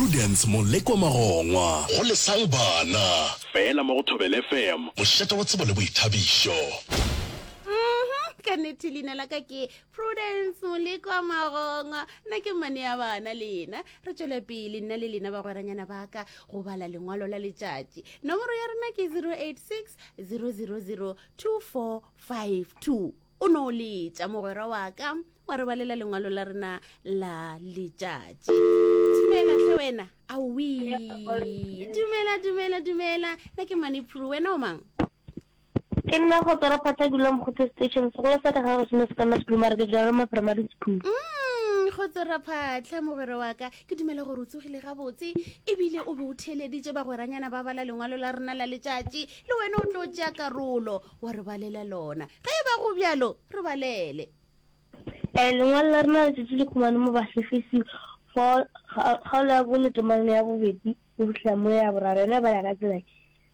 Prudence Molekwa Magongwa. Go Lesang Bana. Feela mo go Thobela FM. Mošate wa tsebo le boithabišo. Mhm, ka nnete leina la ka ke Prudence Molekwa Magongwa. Nna ke mmane ya bana lena. Re tšwele pele nna le lena bagweranyana ba ka go bala lengwalo la letšatši. Nomoro ya rena ke 086 000 2452. O no letša mogwera wa ka wa re balela lengwalo la rena la letšatši. Dumela hle wena. Aowi. Dumela, dumela, dumela. Nna ke Mane Prue, wena o mang? Ke nna Kgotso Raphatla ke dula Mokgotse Station, sekolo sa ka ga go seno se ka Maseklou mara ke Jeroma Primary School. Mm, Kgotso Raphatla mogwera wa ka, ke dumela gore o tsogile gabotse ebile o be o theeleditše bagweranyana ba bala lengwalo la rena la letšatši le wena o tlo tšea karolo wa re balela lona. Ge e ba go bjalo, re balele. Eh, lengwalo la rena la letšatši le khumane mo Bahlefesi 4 kgaolo ya bone temana ya bobedi go fihla mo ya boraro yona e bala ka tsela ye.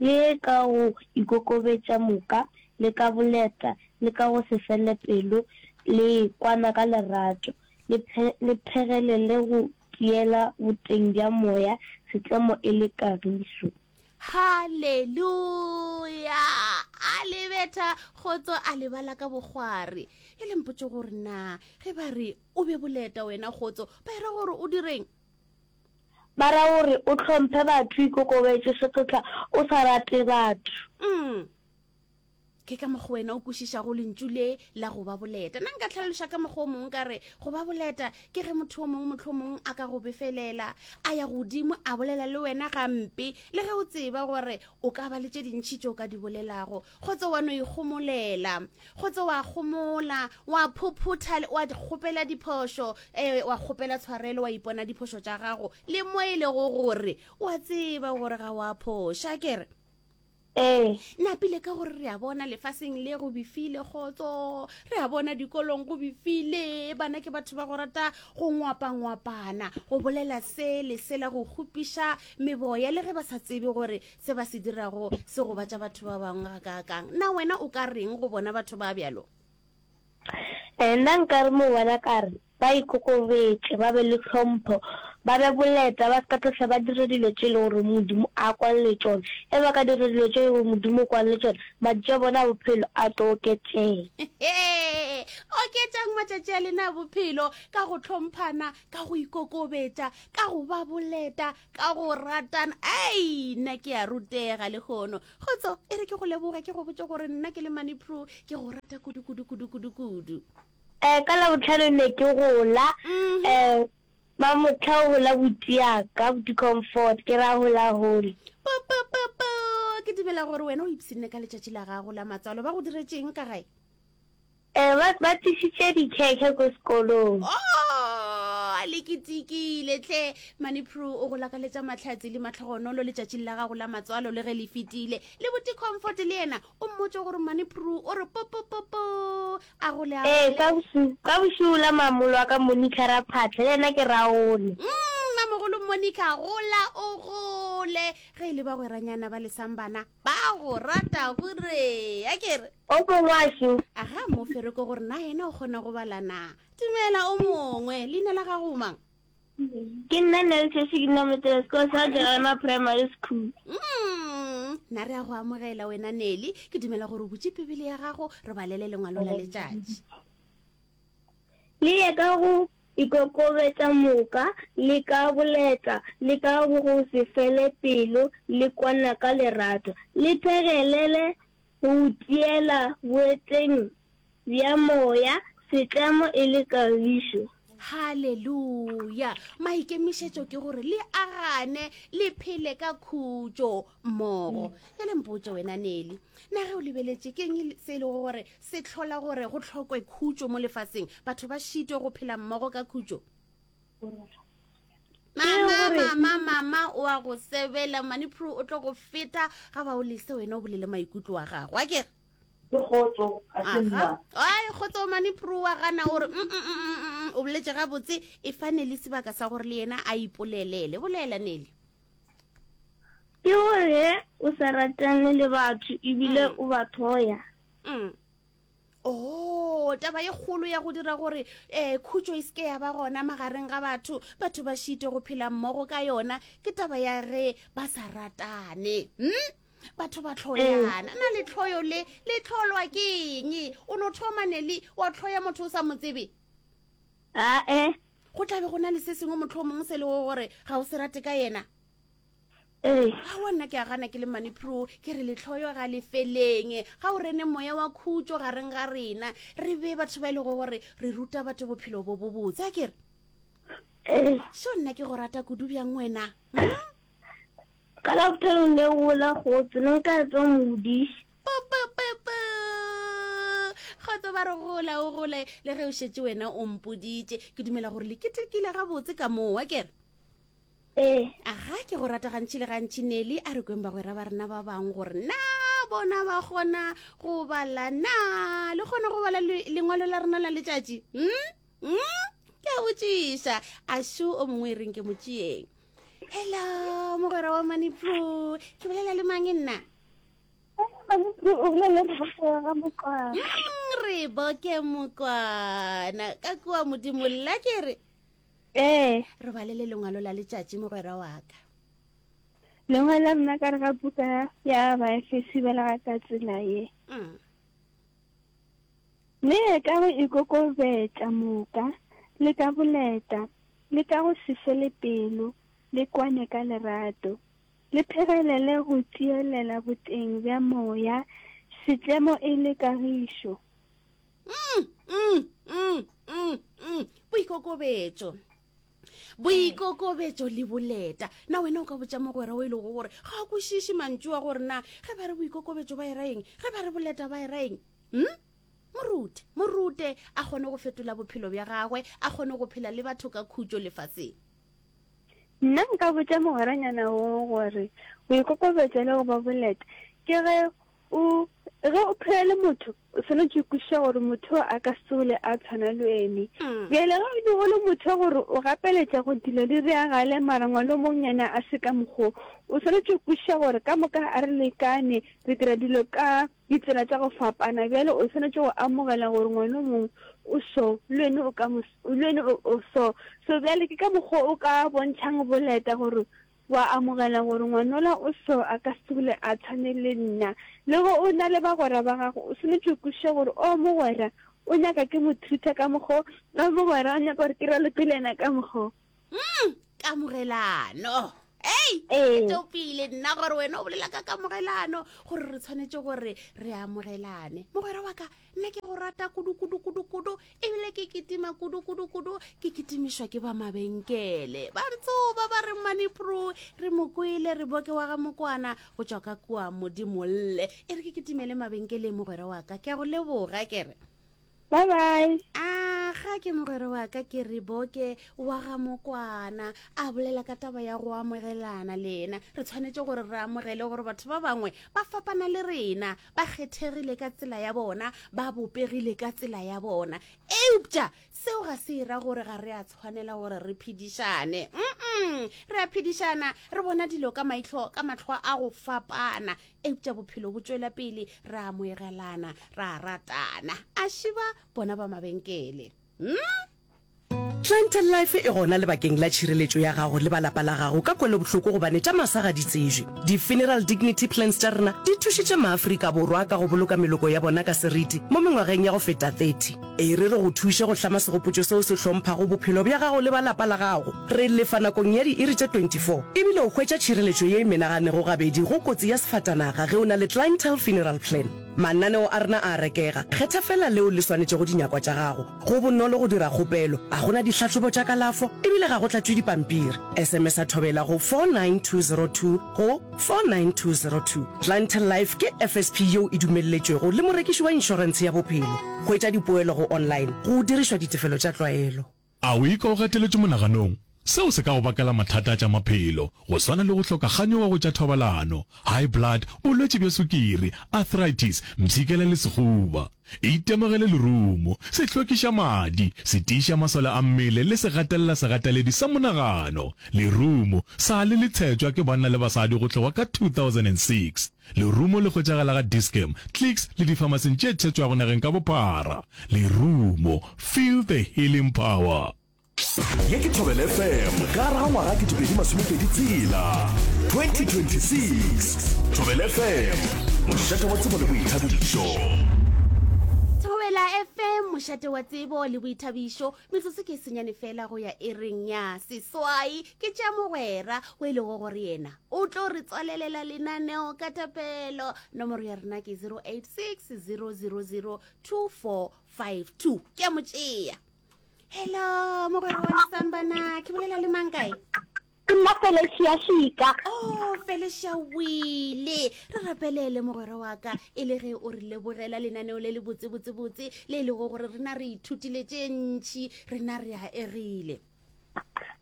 Le ka go ikokobetša moka, le ka boleta, le ka go se fele pelo, le kwana ka lerato, le phe, le phegelele go tiela boteng bja moya, setlemo e le kagišo. Haleluya! A le betha kgotso, a le bala ka bokgwari. E le mpotše gore na ge ba re o be boleta wena kgotso, ba era gore o direng? Ba ra gore o hlomphe batho, o ikokobetše, se tlotla o sa rate batho. Mm. Ke ka mokgwa wena o kwešišago lentšu le la go ba boleta. Nna nka tlhaloša ka mokgwa o mongwe ka re go ba boleta ke ge motho o mongwe mohlomong a ka go befelela, a ya godimo a bolela le wena gampe, le ge o tseba gore o ka ba le tše dintši tše o ka di bolelago. Kgotsa wa no ikgomolela, kgotsa wa gomola, wa phophotha, wa kgopela diphošo, eh, wa kgopela tshwarelo, wa ipona diphošo tša gago, le mo e lego gore wa tseba gore ga wa phoša, ke re. Ee. Napile ka gore re a bona lefaseng le go befile kgotso, re a bona dikolong go befile, bana ke batho ba go rata go ngwapangwapana, go bolela se le sela, go kgopiša meboya le ge ba sa tsebe gore se ba se dirago se gobatša batho ba bangwe gakaakang. Na wena o ka reng go bona batho ba bjalo? Ee, nna nka re mo bona ka re, Ba ikokobetše, ba be le tlhompho, ba be boleta, ba se ka tlohla ba dira dilo tše e lego gore Modimo a kwane le tšona. Ge ba ka dira dilo tše e lego gore Modimo o kwane le tšona, matšatši a bona a bophelo a tlo oketšega. Oketšang matšatši a lena a bophelo ka go hlomphana, ka go ikokobetša, ka go ba boleta, ka go ratana. Ei, nna ke a rutega lehono. Kgotso, e re ke go leboge, ke go botše gore nna ke le Mani Prue ke go rata kudu, kudu, kudu, kudu, kudu. Eh, ka Labohlano ne ke gola, eh, Mamohla o gola buti ya ka, buti Comfort, ke ra hola hole. Po, po, po, po, ke dumela gore wena o ipshinne ka letšatši la gago la matswalo. Ba go diretšeng ka gae? Eh, ba, ba tlišitše dikhekhe ko sekolong. Oh, le ketekile tle. Mani Prue o go lakaletša mahlatse le mahlogonolo letšatšing la gago la matswalo le ge le fetile. Le buti Comfort le yena o mmotše gore Mani Prue o re po, po, po, po. A gole a Ee, ka bošego, ka bošego la mamolo wa ka Monica Raphatla, le yena ke Raole. Mm, mamogolo Monica, gola o gole. Ge e le bagweranyana ba lesang bana, ba go rata gore, a ke re. O mongwe wa šo. Aga, mo fereko gore na yena o kgona go bala na. Dumela o mongwe, leina la gago o mang? Ke nna Nelson ke nna motsena sekolo sa Jerema Primary School. Mm, nna re a go amogela wena Nelly. Ke dumela gore o butše Bibele ya gago re balele lengwalo la letšatši. Le ye ka go ikokobetša moka, le ka boleta, le ka go se fele pelo, le kwana ka lerato, le phegelele go tiela boeteng bja moya, setlemo e le kagišo. Haleluya! Maikemišetšo ke gore le agane, le phele ka khutšo mmogo. Bjale mpotše wena Nelly, na ge o lebeletše ke eng se e lego gore se hlola gore go hlokwe khutšo mo lefaseng, batho ba šitwe go phela mmogo ka khutšo? Mama, mama, mama o a go sebela, Manipro o tlo go feta ga ba o lese wena o bolele maikutlo a gago, a kere? Ke kgotso, a se nna. Ai, kgotso mane pro wa gana gore mm, mm, mm, mm, o boletše gabotse e fa Nelly sebaka sa gore le yena a ipolelele. Bolela Nelly. Ke gore o sa ratane le batho ebile o ba thoya. Mm. Oh, taba ye kgolo ya go dira gore um khutšo e seke ya ba gona magareng ga batho, batho ba šite go phela mmogo ka yona, ke taba ya ge ba sa ratane. Hmm? Batho ba hloyana. Na lehloyo le le hlolwa ke eng? O no thoma Nelly wa hloya motho o sa mo tsebe? Ae. Go tla be go na le se sengwe mohlomong se lego gore ga o se rate ka yena. Ee. Aowa nna ke a gana ke le Mane Pro, ke re lehloyo ga le feleng. Ga o rene moya wa khutšo gareng ga rena, re be batho ba e lego gore re ruta batho bophelo bo bobotse, a ke re? Ee. Sho nna ke go rata kudu bjang wena. Hmm? Ka Labohlano le gola kgotso, ne nka tswa modiši. Pupupupu. Kgotso ba re gola o gole le ge o šetše wena o mpoditše. Ke dumela gore le ketekile gabotse ka moo, a ke re? Ee. Aga ke go rata gantši le gantši Nelly a re kweng bagwera ba rena ba bangwe gore na bona ba kgona go bala na le kgona go bala lengwalo la rena la letšatši hmm? Hmm? ke a botšiša a šo o mongwe e reng ke mo tšeeng hello mogwera wa manipro ke bolela le mang nna mm, re boke mokwana ka kua modimo lla ke re Ee. Re balele lengwalo la letšatši, mogwera wa ka. Lengwalo la rena ka re ga buka ya Baefesi balega ka tsela ye. Mm. Le ka go ikokobetša moka, le ka boleta, le ka go se fele pelo, le kwane ka lerato. Le phegelele go tielela boteng bja moya, setlemo e le kagišo. Mm, mm, mm, mm, mm. Boikokobetšo. Boikokobetšo le boleta. Na wena o ka botša mogwera o e lego gore ga a kwešiše mantšu a gore na ge ba re boikokobetšo ba e ra eng, ge ba re boleta ba e ra eng? Hm? Morute, morute a kgone go fetola bophelo bja gagwe, a kgone go phela le batho ka khutšo lefaseng. Nna nka botša mogweranyana wo gore boikokobetšo le go ba boleta ke ge O, ge o phela le motho, o swanetše go kwešiša gore motho a ka se tsogile a tshwana le wene. Bjale ge o be o le motho wa gore o gapeletša go dilo di reagale mara ngwana o mongwe yena a se ka mokgwa wo, o swanetše go kwešiša gore ka moka ga re lekane, re dira dilo ka ditsela tša go fapana. Bjale o swanetše go amogela gore ngwana o mongwe o so, le wene o ka mo, le wene o, o so. So bjale ke ka mokgwa o ka bontšhang boleta gore Wa amogela gore ngwanola o so a ka se dule a tshwane le nna. Le ge o na le bagwera ba gago, o swanetše go kwešiša gore o mogwera o nyaka ke mo treat-a ka mokgo, o mogwera o nyaka gore ke raloke le yena ka mokgo. Mm, kamogelano. Ei, Ee. ke topile nna gore wena o bolela ka kamogelano, gore re tshwanetše gore re amogelane. Mogwera wa ka, Nna ke go rata kudu kudu kudu kudu ebile ke kitima kudu kudu kudu ke kitimišwa ke ba mabenkele ba ntsoba ba re manipro re mo kwele re boke wa ga mokwana go tšwa ka kua modimolle e re ke kitimele mabenkeleng mogwera wa ka ke a go leboga ke re Bye bye. A ga ke mogwera wa ka ke re boke wa ga mokwana a bolela ka taba ya go amogelana le yena re tshwanetše gore re amogele gore batho ba bangwe ba fapana le rena Ba kgethegile ka tsela ya bona, ba bopegile ka tsela ya bona. Eupša seo ga se e ra gore ga re a tshwanela gore re phedišane. Mm-mm, re a phedišana, re bona dilo ka maihlo, ka mahlo a go fapana. Eupša bophelo bo tšwela pele, re a amogelana, ra ratana. A šiba bona ba mabenkele. Mm? Clientele Life e gona lebakeng la tšhireletšo ya gago le ba lapa la gago ka kwelobohloko gobane tša masa ga di tsejwe. Di-Funeral Dignity Plans tša rena di thušitše maAfrika Borwa ka go boloka meloko ya bona ka seriti mo mengwageng ya go feta 30. E re re go thuše go hlama segopotšo seo se hlomphago bophelo bja gago le ba lapa la gago. Re lefa nakong ya diiri tše 24 ebile o hwetša tšhireletšo ye e menaganego gabedi go kotsi ya sefatanaga ge o na le Clientele Funeral Plan. Mananeo a rena a a rekega, kgetha feela leo le swanetšego dinyakwa tša gago. Go bonolo go dira kgopelo, ga go na dihlahlobo tša kalafo e bile ga go tlatšwe dipampiri. SMS-a Thobela go 49202 go 49202. Clientele Life ke FSP yeo e dumelletšwego le morekiši wa inšorentshe ya bophelo. Hwetša dipoelo go online go dirišwa ditefelo tša tlwaelo. A o ikwa o gateletšwe monaganong? Seo se ka go bakela mathata a tša maphelo, go swana le go hloka kganyogo go tša thobalano, high blood, bolwetši bja sukiri, arthritis, mpshikela le sehuba. Itemogele lerumo, se hlwekiša madi, se tiiša masole a mmele le se gatelela segateledi sa monagano. Lerumo sa le le tshetšwa ke banna le basadi go tloga ka 2006. Lerumo le hwetšagala ga Dis-Chem, Clicks le difamasing tše tshetšwago nageng ka bophara. Lerumo, feel the healing power. Ye ke Thobela FM ka gare ga ngwaga 2026, 2026. Thobela FM, mošate wa tsebo le boithabišo. Thobela FM, mošate wa tsebo le boithabišo. Metsotso ke e senyane fela go ya ereng ya seswai. Ke tša mogwera o e lego gore yena o tlo re tswalelela lenaneo ka thapelo. Nomoro ya rena ke 086 000 2452. Ke a mo tšea. Hello, mogwera wa Lesambana, ke bolela le mang kae? Ke nna Felicia Shika. Oh, Felicia wile. Re rapelele mogwera wa ka e le ge o re lebogela lenaneo le le botse botse botse le e lego gore rena re ithutile tše ntši, rena re a egile.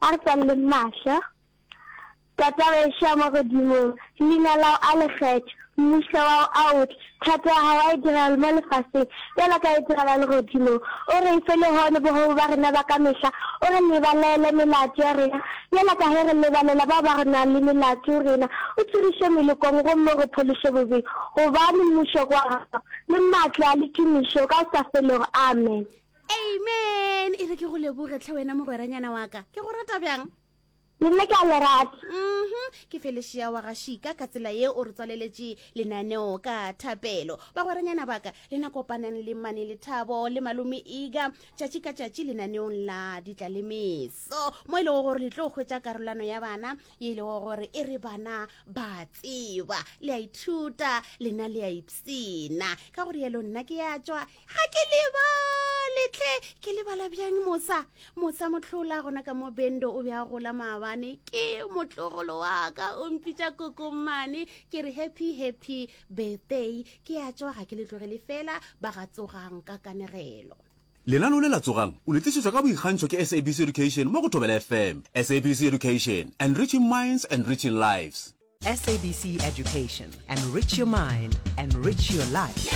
A re tswaleleng mahlo. Tatawešo wa magodimong, leina lao a le kgethwe, mmušo wao a o tle, thato ya gago a e diragale mo lefaseng bjalo ka e diragala legodimong. O re fe lehono bogobo ba rena ba ka mehla, o re lebalele melato ya rena bjalo ka ge re lebalela bao ba re nago le melato go rena. O tiriše melokong gomme o re phološe bobeng, gobane mmušo ke wa gago, le maatla le tumišo ka go sa felego. Amen. Amen. E re ke go leboge tlhe wena mogweranyana wa ka. Ke go rata bjang? Le nna ke a le rata. Mhm, ke Felicia wa ga Shika ka tsela ye o re tswaleletše lenaneo ka thapelo. Bagweranyana ba ka, lena kopanang le Mane Lethabo le Malome Iga tšatši ka tšatši lenaneong la Ditlalemeso, mo e lego gore le tlo hwetša karolano ya bana ye e lego gore e re bana ba tseba, le a ithuta, lena le a ipsina. Ka go rialo nna ke ya tšwa Ga ke lebale tle, ke lebala bjang mosa? Mosa mohlola gona ka mo Bendo o be a gola maabane, ke motlogolo wa ka o mpitša kokommane, ke re happy happy birthday. Ke a tšwa ga ke le tlogele fela ba ga tsogang ka kanegelo. Lenaneo le la Tsogang o le tlišetšwa ka boikgantšho ke SABC Education mo go Thobela FM. SABC Education, enriching minds, enriching lives. SABC Education, enrich your mind, enrich your life.